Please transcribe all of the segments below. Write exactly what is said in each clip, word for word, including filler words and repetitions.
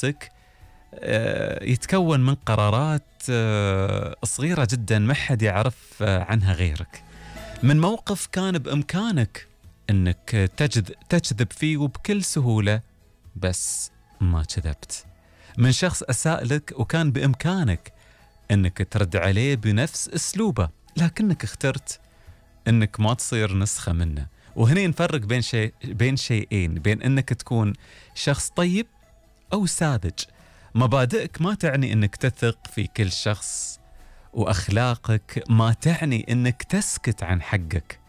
نفسك يتكون من قرارات صغيرة جدا ما حد يعرف عنها غيرك، من موقف كان بإمكانك أنك تجذب فيه وبكل سهولة بس ما كذبت، من شخص أساء لك وكان بإمكانك أنك ترد عليه بنفس أسلوبه لكنك اخترت أنك ما تصير نسخة منه. وهنا نفرق بين شيء بين شيئين، بين أنك تكون شخص طيب أو ساذج. مبادئك ما تعني أنك تثق في كل شخص، وأخلاقك ما تعني أنك تسكت عن حقك،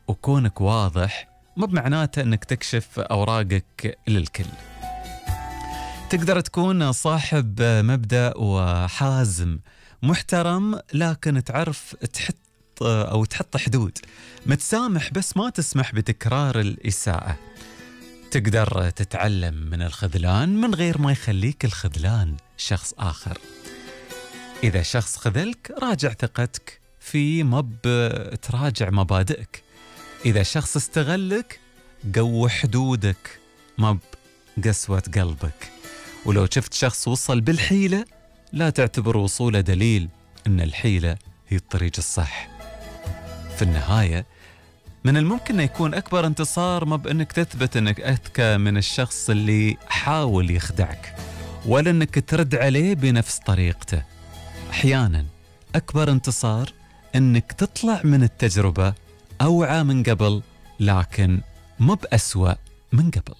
وكونك واضح ما بمعناته أنك تكشف أوراقك للكل. تقدر تكون صاحب مبدأ وحازم محترم لكن تعرف تحط أو تحط حدود، متسامح بس ما تسمح بتكرار الإساءة. تقدر تتعلم من الخذلان من غير ما يخليك الخذلان شخص آخر. إذا شخص خذلك راجع ثقتك فيه، ما بتراجع مبادئك. إذا شخص استغلك قوي حدودك ما بقسوة قلبك. ولو شفت شخص وصل بالحيلة لا تعتبر وصوله دليل أن الحيلة هي الطريق الصح. في النهاية من الممكن أن يكون أكبر انتصار ما بأنك تثبت أنك أذكى من الشخص اللي حاول يخدعك، ولا أنك ترد عليه بنفس طريقته. أحيانا أكبر انتصار أنك تطلع من التجربة أوعى من قبل لكن ما بأسوأ من قبل.